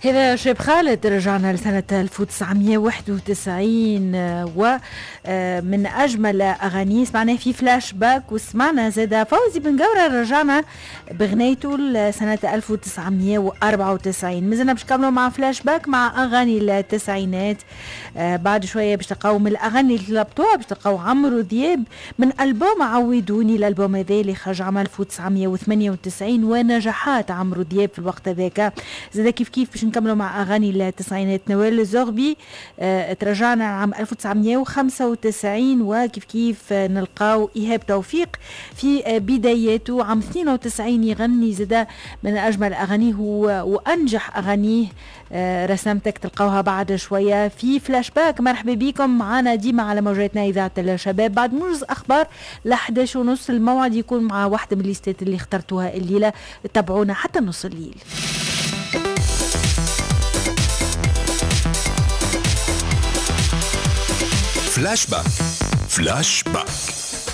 هذا شاب خالد، رجعنا لسنة 1991 ومن أجمل أغانيه سمعناه في فلاش باك، وسمعنا زاد فوزي بن قورة رجعنا بغنيته لسنة 1994. مازلنا باش نكملوا مع فلاش باك مع أغاني التسعينات. بعد شوية باش تلقاو من الأغاني اللي طلبتوها باش تلقاو عمرو دياب من ألبوم عودوني، الألبوم هذا اللي خرج عام 1998 ونجاحات عمرو دياب في الوقت هذاك. زاد كيف كيف باش نكملوا مع أغاني التسعينات. نوال الزغبي ترجعنا عام 1995، وكيف كيف نلقاو إيهاب توفيق في بداياته عام 92 يغني زاد من أجمل أغانيه وأنجح أغانيه رسمتك، تلقاوها بعد شوية في فلاش باك. مرحبا بكم معنا ديما على موجاتنا إذاعة الشباب. بعد موجز أخبار ل 11:30 الموعد يكون مع واحدة من الليستات اللي اخترتوها الليلة، تابعونا حتى نص الليل. فلاش باك، فلاش باك.